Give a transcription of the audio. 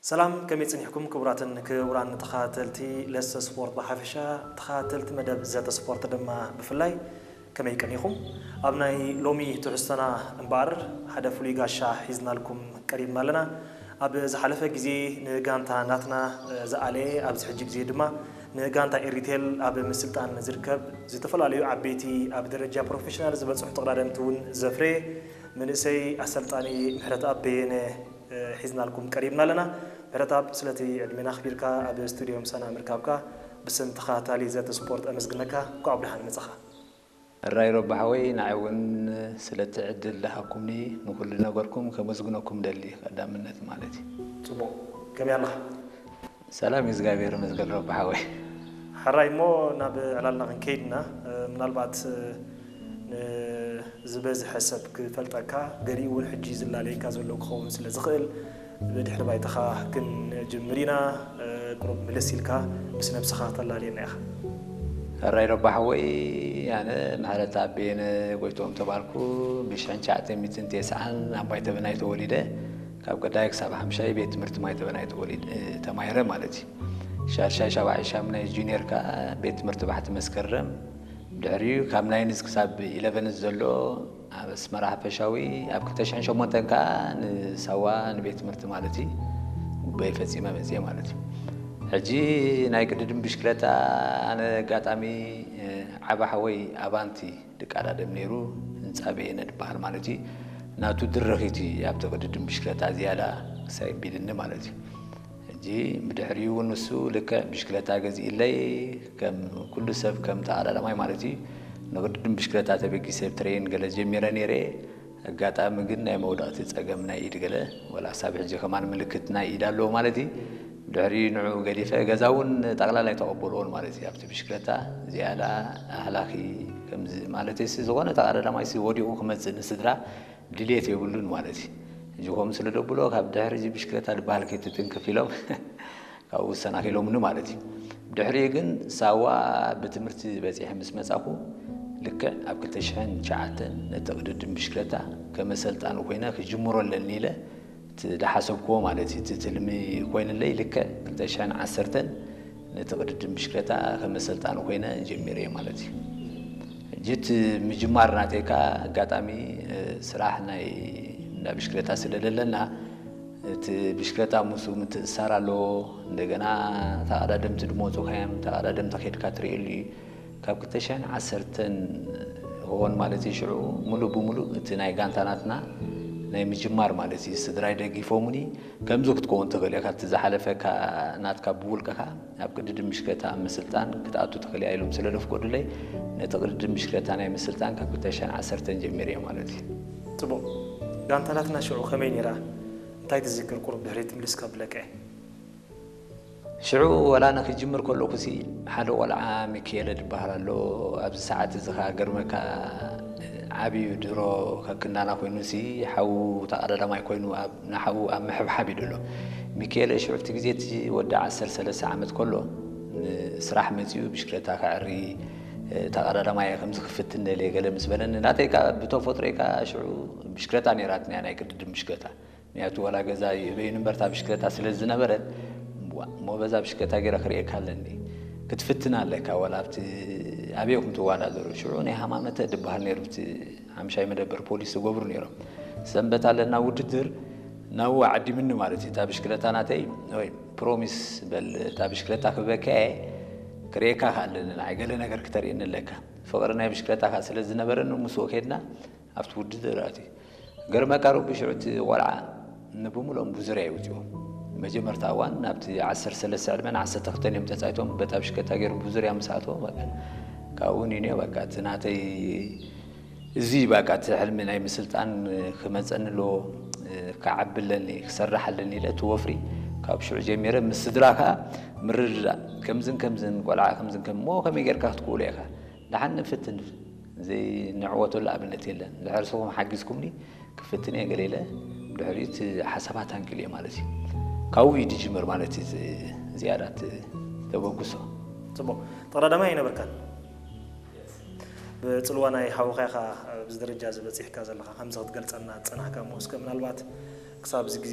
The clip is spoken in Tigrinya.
ሰላም፣ ከመይ ጸኒሕኩም ክቡራትን ክቡራን ተኸታተልቲ ለሰ ስፖርት ብሓፈሻ፣ ተኸታተልቲ መደብ ዘተ ስፖርት ድማ ብፍላይ፣ ከመይ ቀኒኹም? ኣብ ናይ ሎሚ ትሕዝቶና እምበኣር ሓደ ፍሉይ ጋሻ ሒዝናልኩም ቀሪብና ኣለና። ኣብ ዝሓለፈ ግዜ ንጋንታ ናትና ዝኣለየ፣ ኣብዚ ሕጂ ግዜ ድማ ንጋንታ ኤሪቴል ኣብ ምስልጣን ዝርከብ፣ ዝተፈላለዩ ዓበይቲ ኣብ ደረጃ ፕሮፌሽናል ዝበጽሑ ተቐዳደምቲ እውን ዘፍረየ መንእሰይ ኣሰልጣኒ ምሕረተኣብ በየነ ሒዝናልኩም ቀሪብና ኣለና። ምሕረተኣብ፣ ስለቲ ዕድሜና ኣኽቢርካ ኣብ ስቱድዮ ምሳና ምርካብካ ብስም ተኸታታሊ ዘተ ስፖርት ኣመስግነካ። እንኳዕ ብደሓን መጻኻ። ሕራይ ሮባ ሓወይ፣ ንዓይ እውን ስለቲ ዕድል ዝሃብኩምኒ ንኹሉ ነገርኩም ከመስግነኩም ደሊ ቀዳምነት ማለት እዩ። ጽቡቕ። ከመይ ኣለኻ? ሰላም እዩ፣ እግዚኣብሔር ይመስገን ሮባ ሓወይ። ሕራይ እሞ ናብ ዕላልና ክንከይድ ኢና። እ፣ ምናልባት፣ እ፣ ንዝበዝሐ ሰብ ክፈልጠካ፣ ገሊኡ እውን ሕጂ ዝላለየካ ዘሎ ክኸውን ስለ ዝኽእል፣ ብድሕሪ ባይታኻ ክንጅምር ኢና። እ፣ ቁሩብ ምልስ ኢልካ ምስ ነብስኻ ከተላልየና ኢኻ። ሕራይ ሮባ ሓወይ፣ ኣነ ምሕረተኣብ በየነ ጎይትኦም ተባልኩ። ብሽሕን ትሽዓተ ሚእትን ተስዓን ኣብ ማይ ተበናይ ተወሊደ። ካብ ቀዳይ ክሳብ ሓምሻይ ቤት ትምህርቲ ማይ ተበናይ ተወሊደ፣ ተማሂረ ማለት እዩ። ሻድሻይ ሻብዓይ ሻምናይ ጁኒየር ከኣ ቤት ትምህርቲ ባሕቲ መስከረም። ድሕሪኡ ካብ ናይንዝ ክሳብ ኢለቨንዝ ዘሎ ኣብ ኣስመራ ሓፈሻዊ፣ ኣብ ክልተ ሽሕን ሸሞንተን ከኣ ንሳዋ ንቤት ትምህርቲ ማለት እዩ ጉባኤ ፈጺመ መጽየ ማለት እዩ። ሕጂ ናይ ቅድድም ብሽክለታ ኣነ ኣጋጣሚ፣ እ፣ ዓቢ ሓወይ ኣባንቲ ድቃዳደም ነይሩ፣ ህንጻ በየነ ድበሃል ማለት እዩ። ናቱ ድርኺት እዩ ኣብቲ ቅድድም ብሽክለታ ዝያዳ ክሳይ ቢልኒ ማለት እዩ። ሕጂ ብድሕሪኡ እውን ንሱ ልክዕ ብሽክለታ ገዚእለይ፣ ከም ኩሉ ሰብ፣ ከም ተቐዳዳማይ ማለት እዩ፣ ንቅድድም ብሽክለታ ተበጊሰ ትሬን ገለ ጀሚረ ነይረ። ኣጋጣሚ ግን ናይ መውደቕቲ ጸገም ናይ ኢድ ገለ፣ ወላ ክሳብ ሕጂ ከማን ምልክት ናይ ኢድ ኣለዎ ማለት እዩ። ድሕሪ ንዑ ገዲፈ፣ ገዛ እውን ጠቕላላ ኣይተቐበልዎን ማለት እዩ። ኣብቲ ብሽክለታ ዝያዳ ኣህላኺ ከምዚ ማለት እዩ፣ ዝኾነ ተቐዳዳማይ ሲ ወዲቑ ክመጽእ ንስድራ ድልየት የብሉን ማለት እዩ። ሕጂ ከምኡ ስለ ደብሎ፣ ካብ ድሕሪ እዚ ብሽክለታ ዝበሃል ከይትትንክፍ ኢሎም ካብኡ ዝሰናኺሎምኒ ማለት እዩ። ድሕሪኡ ግን ሳዋ ብትምህርቲ በጺሐ ምስ መጻኹ፣ ልክዕ ኣብ ክልተ ሽሕን ትሽዓተን ነቲ ቅድድም ብሽክለታ ከም ኣሰልጣኒ ኮይነ ክጅምሮ ኣለኒ ኢለ እቲ ዝሓሰብክዎ ማለት እዩ፣ እቲ ትልሚ ኮይንለይ፣ ልክዕ ክልተ ሽሕን ዓሰርተን ነቲ ቅድድም ብሽክለታ ከም ኣሰልጣኒ ኮይነ ጀሚረ ማለት እዩ። ሕጂ እቲ ምጅማር ናተይ ከኣ ኣጋጣሚ፣ እ፣ ስራሕ ናይ እንዳ ብሽክለታ ስለ ዘለና፣ እቲ ብሽክለታ ምስኡ ምትእስሳር ኣለዎ። እንደገና ተቐዳደምቲ ድመጹ ካዮም፣ ተቐዳደምቲ ከድካ ትርእየሉ እዩ። ካብ ክልተ ሽሕን ዓሰርተን ሆን ማለት እዩ፣ ሽዑ ሙሉእ ብሙሉእ እቲ ናይ ጋንታ ናትና ናይ ምጅማር ማለት እዩ፣ ስድራይ ደጊፎሙኒ። ከምዚ ክትከውን ትኽእል ኢኻ፣ እቲ ዝሓለፈካ ናትካ ብውልቅኻ ኣብ ቅድድም ብሽክለታ ኣብ ምስልጣን ክትኣቱ ትኽእል ኢያ ኢሎም ስለ ዘፍቀዱለይ፣ ነቲ ቅድድም ብሽክለታ ናይ ምስልጣን ካብ ክልተ ሽሕን ዓሰርተን ጀሚረ እየ ማለት እዩ። ጽቡቕ። ጋንታ ናትና ሽዑ ከመይ ነይራ? እንታይ ትዝክር? ቁሩብ ድሕሪት ምልስ ከብለካ እየ። ሽዑ ወላ ኣነ ክጅምር ከለኹሲ፣ ሓደ ቆልዓ ሚካኤለ ዝበሃል ኣሎ። ኣብዚ ሰዓት እዚ ኸኣ ገርመካ፣ ዓብዩ ድሮ ከክንዳና ኮይኑሲ፣ ሓዉ ተቐዳዳማይ ኮይኑ ኣብ ንሓዉ ኣብ ምሕብሓብ እዩ ዘሎ። ሚካኤለ ሽዑ ኣብቲ ግዜ እቲ ወዲ ዓሰርተ ሰለስተ ዓመት ከሎ ንስራሕ መጺኡ ብሽክለታ ከዕሪ፣ እ፣ ተቐዳዳማይ እየ፣ ከምዚ ክፍትን ደልየ ገለ ምስ በለኒ፣ ናተይ ከኣ ብተፈጥሮይ ከኣ ሽዑ ብሽክለታ ነይራትኒ እያ፣ ናይ ቅድድም ብሽክለታ። ምክንያቱ ዋላ ገዛ ይእበዩኒ እምበር እታ ብሽክለታ ስለ ዝነበረት፣ ዋ፣ እሞ በዛ ብሽክለታ ገይረ ክርእየካ ኣለኒ። ክትፍትን ኣለካ፣ ዋላ ኣብቲ ኣበይ ኢኹም ትወዳደሩ? ሽዑ ናይ ሃማመተ ዝበሃል ነይሩ፣ ኣብቲ ሓምሻይ መደበር ፖሊስ ዝገብሩ ነይሮም። ሰንበት ኣለና ውድድር፣ ናብኡ ዓዲምኒ ማለት እዩ። እታ ብሽክለታ ናተይ፣ ወይ ፕሮሚስ በል፣ እታ ብሽክለታ ክህበካ እየ፣ ክርእየካ ከኣ ኣለኒ፣ ንዓይ ገለ ነገር ክተርእየኒ ኣለካ። ፍቕሪ ናይ ብሽክለታ ከኣ ስለ ዝነበረኒ፣ ምስኡ ከድና ኣብቲ ውድድር ኣትዩ። ገርመካ ረቢ ሽዑ እቲ ቆልዓ ንብሙሉኦም ብዙርያ ይውፅኡ። መጀመርታ እዋን ናብቲ ዓሰርተ ሰለስተ ዕድመን ዓሰርተ ክልተን እዮም ተፃይቶም፣ በታ ብሽክለታ ገይሩ ብዙርያ ምስ ኣተዎ፣ በቃ ካብኡ ኒንዮ፣ በቃ እቲ ናተይ እዚ፣ በቃ እቲ ሕልሚ ናይ ምስልጣን ክመፀኒ ኣለዎ፣ ክዓቢ ኣለኒ፣ ክሰርሕ ኣለኒ ኢለ እቲ ወፍሪ ካብ ሽዑ ጀሚረ ምስ ስድራ ከዓ ምርድዳእ፣ ከምዝን ከምዝን ቆልዓ ከምዝን ከም-፣ እሞ ከመይ ጌርካ ክትክእሎ ኢኻ? ደሓን ንፍትን፣ ዘይንዕወተሉ ኣብነት የለን። እንድሕር ንስኹም ሓጊዝኩምኒ ክፍትን እየ ገለ ኢለ፣ ድሕሪኡ እቲ ሓሳባት ኣንቂሉ እየ ማለት እዩ። ካብኡ እዩ ዝጅምር ማለት እዩ፣ ዝ-፣ ዝያዳ እቲ ተበግሶ። ጽቡቕ። ተቐዳዳማይ ኣይነበርካን? ብጽልዋ ናይ ሓውኻ ኢኻ ኣብዚ ደረጃ እዚ በጺሕካ ዘለኻ፣ ከምዚ ክትገልጸልና ዝጸናሕካ እሞ፣ እስከ ምናልባት ክሳብ እዚ ግዜ